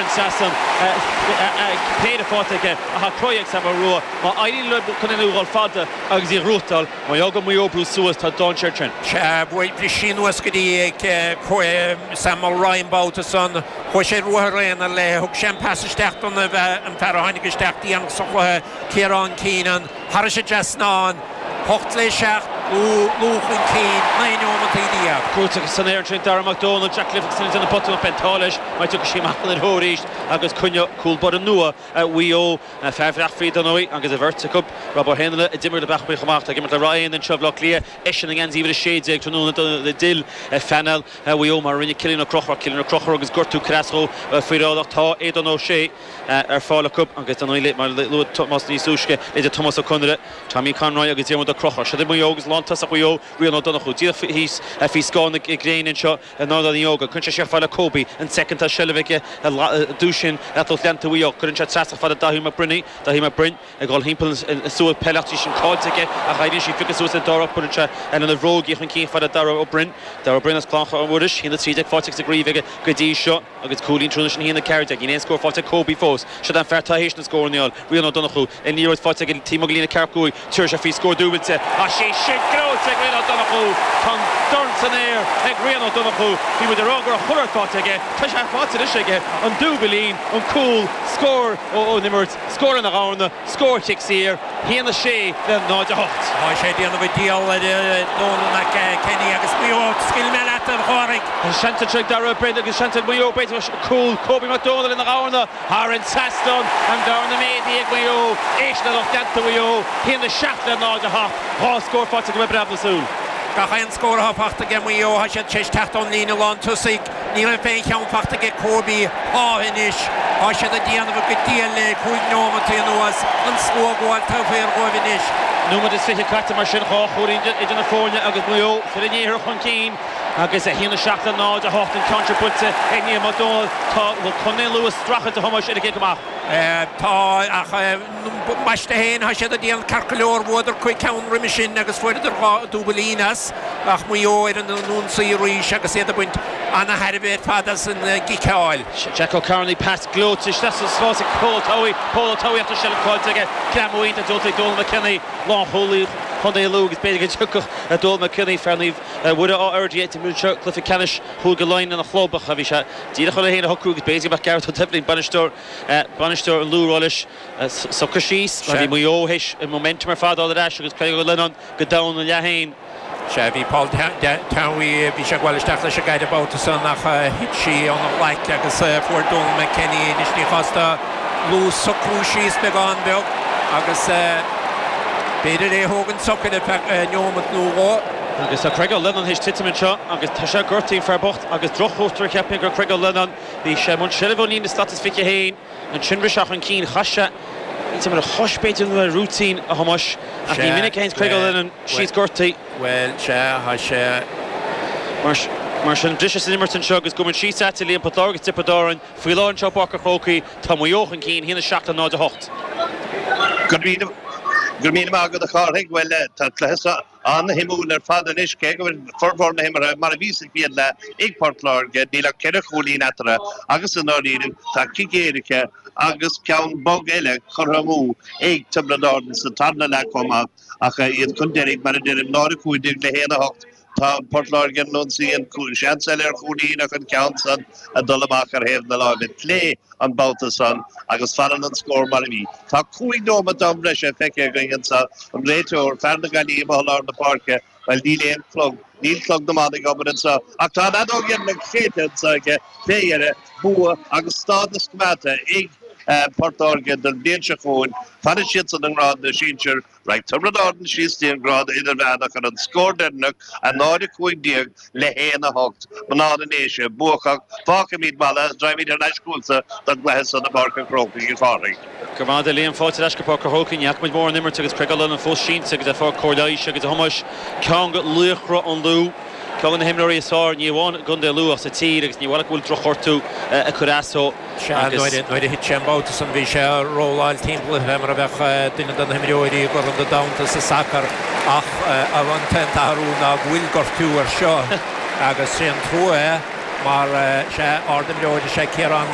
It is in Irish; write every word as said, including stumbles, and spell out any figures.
an trasnán péire faighte aige ach tá croí ag Sam Rua má éiríonn le Contae an Lú dul fada agus í a ghnóthachtáil má fhágann Maigh Eo brú suas tá dainséar ansin. Sea, bhris sí anuas go dtí Sam Mulroy an babhta san, chuaigh sé ruathar aonair léi, thug sé an pas isteach don an fear a tháinig isteach déanach sa chluiche, Ciarán Keenan, thairis an trasnán, hocht le seacht, Lú chun cinn, naoi neomataí déag. Crúite san aer ansin Dara Mac Dónaill, Jack Livingston ag déanamh botún ach beidh an t-ádh leis mar tiocfaidh sí amach ina threo arís agus coinneoidh cúl báire nua Mhaigh Eo, fear Bhreac Mhí dar ndóigh agus an bheirt acu, Rob Ó hÉanaile a d'imir le Bleach Cliath chomh maith, tá ag imirt le Ráth Éanna anseo i Bhaile Átha Cliath, eisean i ngeansaí uimhir a sé déag tráthnóna a d'fhill phainéal Mhaigh Eo mar a rinne Cillian Ó Conchúir, Cillian Ó Conchúir agus gortú ag cur as dó faoi láthair ach tá Aodán Ó Sé ar fáil acu agus dar ndóigh mar a luaigh Tomás níos túisce idir Tomás Ó Conaire, Tommy Conroy agus Diarmuid Ó Conchúir. Siod é Maigh Eo agus lántosach Mhaigh Eo, Rian Ó Donnchú, díreach thíos faoi scáth na gréine anseo in Ardán Uí Óga. Cuireann sé siar fada le Kobe, an soicind tá seilbh aige dúis sin ar lucht leanta Mhaigh Eo. Cuireann sé trasna fada Daithí McBrinn, Daithí McBrinn ag dul thimpeall an slua peile ach tá sí sin caillte aige ach éiríonn sí pioctha suas ag Dara Cuireann sé lena bhróg í chun cinn fada Dara Ó Broin, Dara Ó Broin as Clochán Mhuiris, haon a trí déag faighte sa gcraobh aige go dtí seo agus cúilín tráthnóna sin haon a ceathair déag. Níl aon scór faighte ag Kobe fós. Siod an fear atá théis na scóranna a fháil, Rian Ó Donnchú, an liathróid faighte aige taobh amuigh de líne ceathracha cúig, tabharfaidh sé faoi scór dúbailte. Ach sé sin gnóite ag Rian Ó Donnchú! Tá an dorn san aer ag Rian Ó Donnchú. Bhí muid ag rá go raibh chuile shórt faighte aige. Tá sé faighte anois aige. An dúbailín, an cúl, scór ón imirt, scór ina dharna, scór chic saor, haon a sé le náid a hocht. Tá sé ag déanamh a dhícheall ar Donal McKenny agus Maigh Eo, scaoilfidh mé leat a Chárthaigh. Seans anseo ag Dara Ó Broin agus seans ag Maigh Eo b'fhéidir cúl Kobe Mac Dónaill ina dharna thar an trasnán, an darna méadaithe ag Maigh Eo, éist le lucht leanta Mhaigh Eo, haon a seacht le náid a hocht, dhá scór faighte acu ag breab na súl. Gach aon scór atá faighte aige Maigh Eo, tá siad tar éis teacht ón líne lántosaigh. Ní raibh aon cheann faighte aige Kobe. Tá anois. Tá siad ag déanamh a gcuid diail le cúig neomataí anuas. An slua ag gabháil taobh thiar dhóibh anois. Nóiméad is fiche caite mar sin, dhá chúilín idir na foirne agus Maigh Eo fir an iarthair chun cinn agus a haon a seacht le náid a hocht an ceann seo buailte ag Niall Mac Dónaill. Tá Contae an Lú ag streachailt a Thomáis ar an gcic amach. Tá, ach ambaiste féin, tá siad ag déanamh ceart go leor. Bhuadar cúig ceann roimhe sin agus fuaireadar dhá dúbailín as, ach Maigh Eo ar an ionsaí arís agus iad ag baint ana-thairbhe ar fad as an gciceáil. Jack O'Carney, pas gleoite isteach sa spás ag Pól Ó Tobhaigh, Pól Ó Tobhaigh ach tá seilbh caillte aige. Greamú iontach diúltaithe ag Donal McKinney, lánchúlaí Chontae Lú agus b'fhéidir go dtiocfadh Donal McKinney, fear Naomh Mhuire Áth Fhirdhia, d'imir anseo cluiche ceannais Chúige Laighean lena chlub ach bhí sé díreach chun é féin a shocrú agus b'fhéidir go mbeadh Gareth Ó Doibhlin, bainisteoir bainisteoir an Lú, ag rá leis socraigh síos mar bhí Maigh Eo théis an momentum ar fad a fháil ar ais agus Craig Ó Leannáin go domhan ina leath féin. Sea, bhí Paul Towey, bhí sé ag gabháil isteach leis an gcaid an babhta san ach thit sí óna ghlaic agus fuair Donal McKenny í. Anois ní chás do Lú socrú síos beagán beag agus b'fhéidir é a thógaint socair ar feadh neomat nó dhó. Agus tá Craig Ó Leannáin théis titim anseo agus tá sé gortaithe, an fear bocht, agus drochchúis cheapfainn gur Craig Ó Leannáin. Bhí sé i mbun seilbhe ón líne slat is fiche haon. Ansin rith sé chun cinn, chaith sé níl ar a chois b'fhéidir nó ar a rúitín, a Thomáis, ach ní minic a théanns Craig Ó Leannáin síos gortaithe. Bhuel, sea, tá sé. Mar sin, briseadh san imirt anseo agus gabhfaidh muid síos agat a Liam, Port Láirge agus Tiobraid Árann faoi láthair anseo i bPáirc an Chrócaigh. Tá Maigh Eo chun cinn, a haon a seacht le náid a hocht. Go raibh míle maith agat a Chárthaigh. Bhuel, tá an cluiche seo an-shuimiúil ar fad anois, cé go bhfuil formhór na himeartha mar a bhí sa chéad leath ag Port Láirge, níl ach ceithre chúilín eatarthu agus i ndáiríre tá cic éirice agus ceann bog eile curtha amú ag Tiobraid Árann sa tarna leath chomh maith ach iad chun deiridh, mar a deirim, náid a cúig déag le haon a hocht. Tá Port Láirge ar an ionsaí, an seans eile ar chúilín ach an ceann san ag dul amach ar thaobh na láimhe clé an babhta san agus fanann an scór mar a bhí. Tá cúig nóimeat d'am breise feicthe againn anseo, an réiteoir, fear na Gaillimhe amuigh i lár na páirce, bhuel níl aon chlog, níl clog na mban ag obair anseo ach tá an fheadóg dheireanach séidte anseo aige fé dheireadh, bua agus stádas coimeádta ag Port Láirge don bhliain seo chugainn, fanfaidh siadsan i ngrád na sinsear. Raghaidh Tiobraid Árann síos dtí an grád idirmheánach ar an scór deireanach, a náid a cúig déag le haon a hocht. Mná na nDéise buacach, fágfaimid Mala is raghaimid thar n-ais chugatsa don gcluiche san i bPáirc an Chrócaigh, a Chárthaigh. Go raibh maith agat a Liam, fáilte ar ais go Páirc an Chrócaigh. Ní fhaca muid mórán imirt agus Craig Ó Leannáin fós sínte agus ag fáil cóir leighis agus a Thomáis, ceann de laochra an Lú, ceann de na himreoirí is fearr, ní amháin i gContae Lú ach sa tír agus ní bhailí go bhfuil drochghortú ag cur as dó. Sea, nuair a thit sé an babhta san bhí sé ag rolláil timpeall fé mar a bheadh duine de na himreoirí i gCorn an Domhain sa sacar ach an t-aon t-athrú ná go bhfuil gortú air seo agus sé an trua é mar sea, ard-imreoir is ea Ciarán le